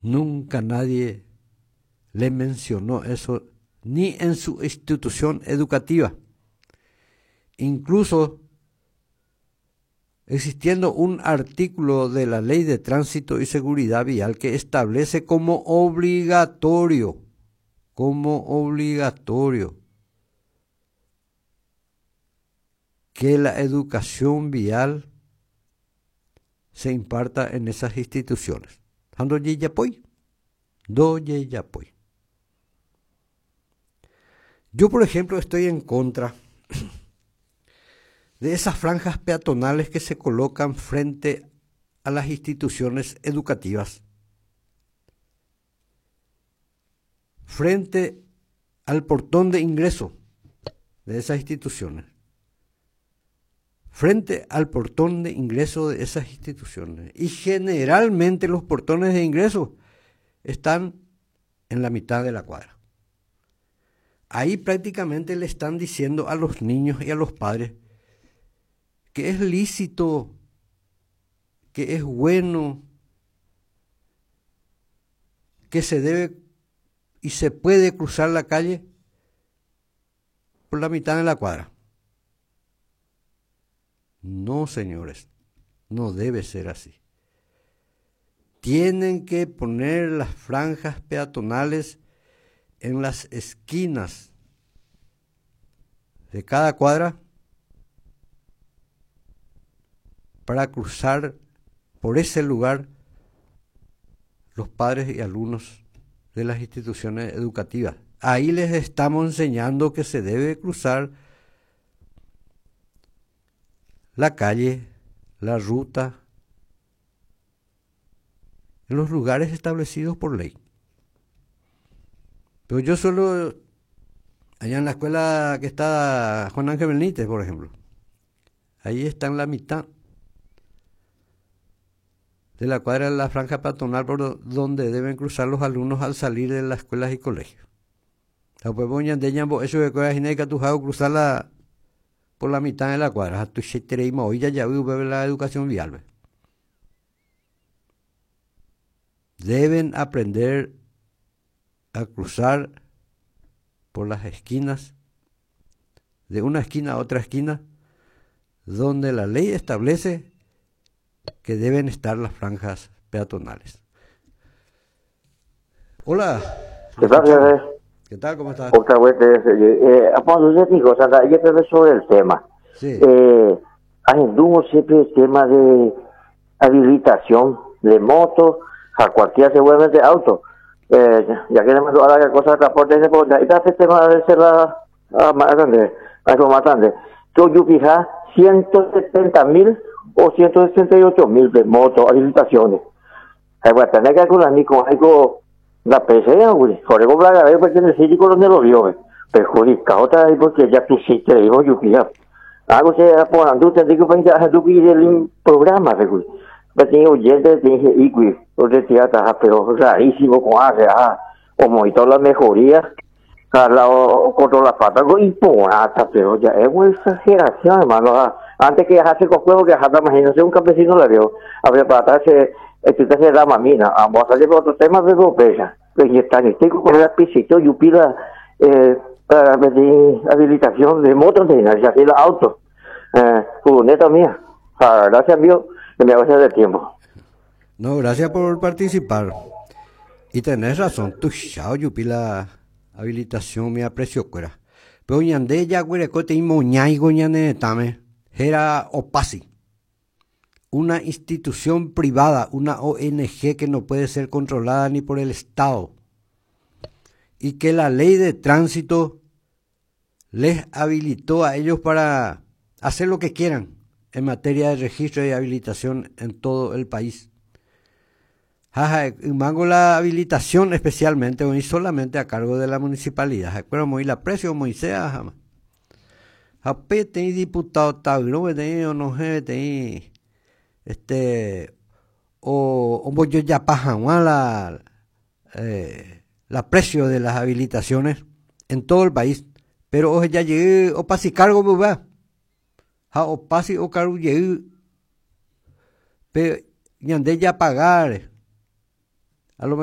Nunca nadie le mencionó eso ni en su institución educativa. Incluso existiendo un artículo de la Ley de Tránsito y Seguridad Vial que establece como obligatorio, como obligatorio, que la educación vial se imparta en esas instituciones. Yo, por ejemplo, estoy en contra de esas franjas peatonales que se colocan frente a las instituciones educativas, frente al portón de ingreso de esas instituciones, frente al portón de ingreso de esas instituciones. Y generalmente los portones de ingreso están en la mitad de la cuadra. Ahí prácticamente le están diciendo a los niños y a los padres que es lícito, que es bueno, que se debe y se puede cruzar la calle por la mitad de la cuadra. No, señores, no debe ser así. Tienen que poner las franjas peatonales en las esquinas de cada cuadra para cruzar por ese lugar los padres y alumnos de las instituciones educativas. Ahí les estamos enseñando que se debe cruzar la calle, la ruta, en los lugares establecidos por ley. Pero yo solo, allá en la escuela que está Juan Ángel Benítez, por ejemplo, ahí está en la mitad de la cuadra de la franja peatonal por donde deben cruzar los alumnos al salir de las escuelas y colegios. Eso de cruzar por la mitad de la cuadra. La educación vial. Deben aprender a cruzar por las esquinas, de una esquina a otra esquina, donde la ley establece que deben estar las franjas peatonales. Hola. ¿Qué tal, ¿Qué tal? ¿Cómo estás? Otra vez, sobre el tema. Sí. Siempre el tema de habilitación de moto, a cualquier seguramente auto. Ya que le mando a la cosa de transporte, este tema debe ser la más grande, algo más grande. Yo fija 170.000 o 168.000 de moto, habilitaciones. Hay que tener que calcular ni con algo la PC, güey. Jorge Blaga, porque en el sitio donde lo vio, perjudicado otra vez porque ya tú sí te dijo, yo fija. Algo se por andu, te digo, pues ya tú el programa, güey. Pues tiene oyente, tiene y pero rarísimo con hace, como y toda la mejoría, al lado contra la pata, y porata, pero ya es una exageración, hermano. Antes que hace con juego que hasta imagínese un campesino le vio, a ver, para se este se da mamina, vamos a salir por otro tema de pesa, pues está en este con la pisito y pida para pedir habilitación de moto de ya la auto, furgoneta mía. Gracias amigo, que me hagas de tiempo. No, gracias por participar. Y tenés razón, tu chao, yupi la habilitación me aprecio cuera. Pero ñande ya güerecote y moñaigo ñane tame, era OPASI, una institución privada, una ONG que no puede ser controlada ni por el Estado. Y que la ley de tránsito les habilitó a ellos para hacer lo que quieran en materia de registro y habilitación en todo el país. Jaja, mango la habilitación especialmente, y solamente a cargo de la municipalidad. Pero muy la precio, muy sea. Japete y diputado tablo, no sé, este, o voy yo ya paja, la la precio de las habilitaciones en todo el país. Pero oje ya llegué, o pasi cargo, va. Ja, o pasi o cargo llegué. Pero ñande ya pagar. A lo mejor